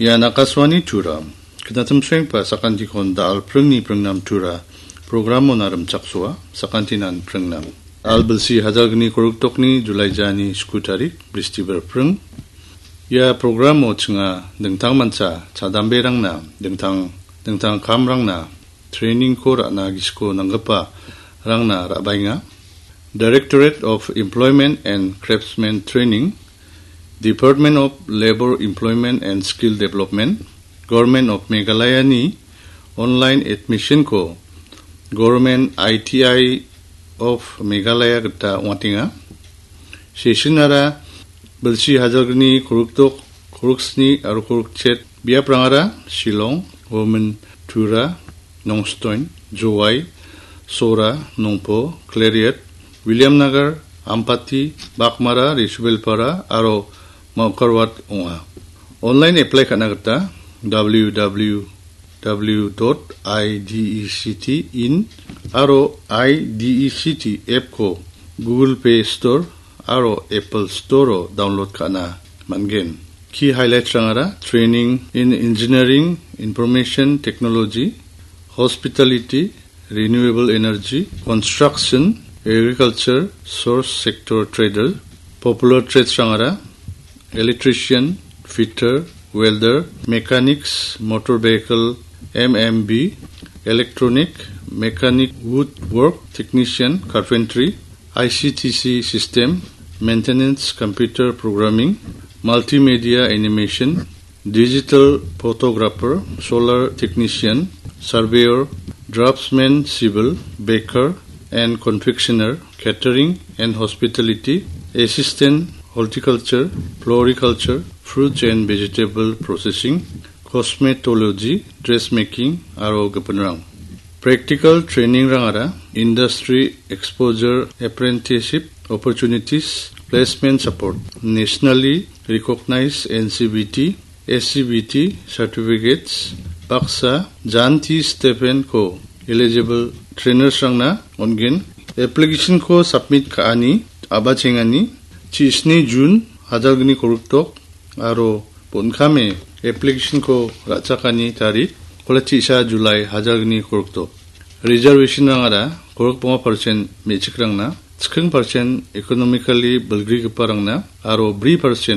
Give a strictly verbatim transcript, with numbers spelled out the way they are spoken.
Ian Akashvani Tura. Knatimsrengpa sakantikon da·al pringni pringnam Tura. Programon arim chaksoa, sakantinan pringnam. Al bilsi hajalgni koruktokni Julai jani sku tarik, Bristibar pring. Ia programo chinga dingtang mancha chadamberangna, dingtang, dingtang kamrangna, trainingko ra·na gisiko nanggipa rangna ra·baenga. Directorate of Employment and Craftsmen Training, Department of Labour, Employment and Skill Development, Government of Meghalaya-ni online admission-ko Government I T I of Meghalaya gita ong·atenga. Session-ara bilsi hajalgni korokdok, koroksni aro korokchet biaprangara Shillong, Women Tura, Nongstoin, Jowai, Sora, Nongpo, Khliehriat, Williamnagar, Ampati, Baghmara, Resubelpara aro Mawkyrwat ong·a. Online apply ka·na gita W W W dot I D E C T in aro I D E C T app-ko Google Play Store aro Apple Store-o download ka·na man·gen. Key highlights-rangara training in engineering, information technology, hospitality, renewable energy, construction, agriculture, source sector trader, popular trades-rangara electrician, fitter, welder, mechanics, motor vehicle, M M B, electronic, mechanic, woodwork, technician, carpentry, I C T C system, maintenance, computer programming, multimedia animation, digital photographer, solar technician, surveyor, draftsman, civil, baker and confectioner, catering and hospitality, assistant, horticulture, floriculture, fruits and vegetable processing, cosmetology, dressmaking, aro gipinrang. Practical training-rangara industry exposure, apprenticeship opportunities, placement support, nationally recognized N C V T, S C V T certificates, baksa Janti Stipend-ko eligible trainers-rangna on·gen. Application-ko submit ka·ani, a·bachengani, chisni June, hajalgni koroktok, aro bon·kame application-ko ra·chakani tarik, kola chisa July hajalgni koroktok. Reservation-rangara korokbonga percent me·chikrangna, chikring percent economically bilgrigiparangna, aro bri percent